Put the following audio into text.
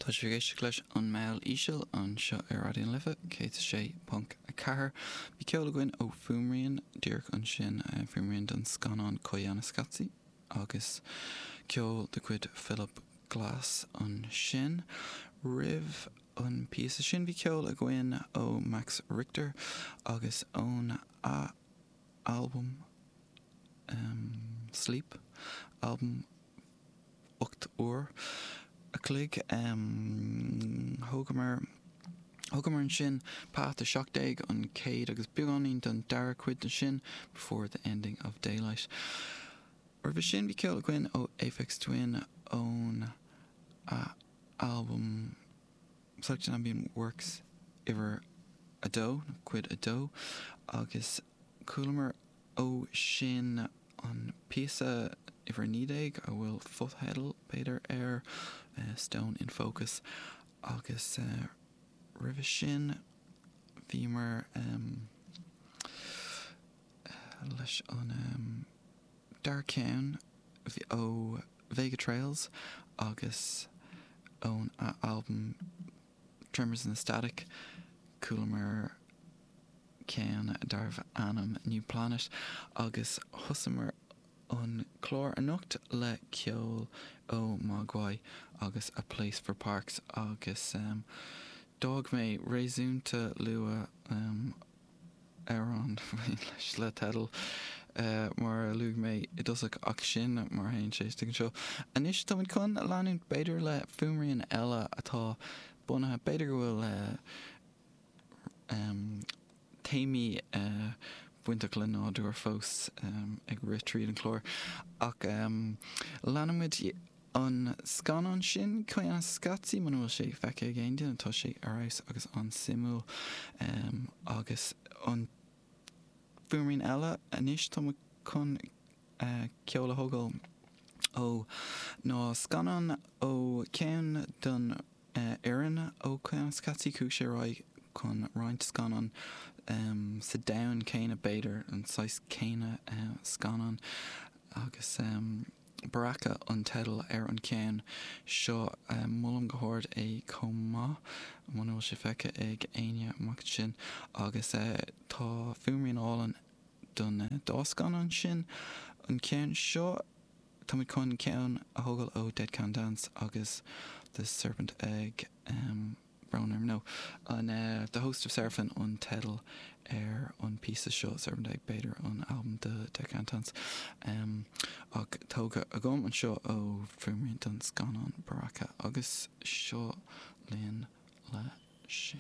Tá sibh ag éisteacht leis An Meall Íseal anseo ar Raidió na Life 106.4. Bhí ceol againn ó Fuaimrian díreach ansin, fuaimrian don scannán Koyaanisqatsi agus ceol de chuid Philip Glass ansin. Roimh an píosa sin bhí ceol againn ó Max Richter agus ón albam Sleep, albam 8 uair a chloig. Thógamar Thógamar ansin Path 17, an chéad agus beagáinín den dara cuid de sin, Before the Ending of Daylight. Roimhe sin bhí ceol againn ó Aphex Twin ón albam Selected Ambient Works uimhir 2, nó cuid 2, agus chualamar ó sin an píosa uimhir 19, a bhfuil fotheideal, b'fhéidir, air, Stone in Focus, agus roimhe sin bhíomar leis an dara ceann ó Vega Trails agus ón albam Tremors in the Static, chualamar ceann darbh ainm New Planet agus thosaíomar an clár anocht le ceol ó Mogwai agus A Place for Parks agus d'fhág mé réasúnta luath amhrán leis le teideal mar a luaigh mé i dtosach ach sin mar a théann sé istigh anseo. Anois táimid chun leanúint b'fhéidir le fuaimrian eile atá bunaithe, b'fhéidir go bhfuil téamaí bainteach le nádúr fós ag rith tríd an chlár. Ach leanfaimid an scannán sin, Koyaanisqatsi, muna bhfuil sé feicthe ag aon duine, tá sé ar fheabhas agus an-suimiúil. Agus an fuaimrian eile anois, tá muid chun ceol a thógáil ó ná scannán ó cheann den fhoireann ó Koyaanisqatsi, chuaigh sé ar aghaidh chun roinnt scannán sa domhan céanna, b'fhéidir, an saghas céanna scannán agus Baraka an teideal ar an cheann seo. Molaim go hard é chomh maith, muna bhfuil sé feicthe ag éinne amach ansin agus tá fuaimrian álainn don dá scannán sin. An ceann seo. Táimid chun ceann a thógáil ó Dead Can Dance agus The Serpent Egg, brón orm, no, an The Host of Seraphim an teideal ar an píosa seo, Serpent Egg b'fhéidir an albam do Dead Can Dance, ach tógtha agam anseo ó fuaimrian don scannán Baraka agus seo linn le sin.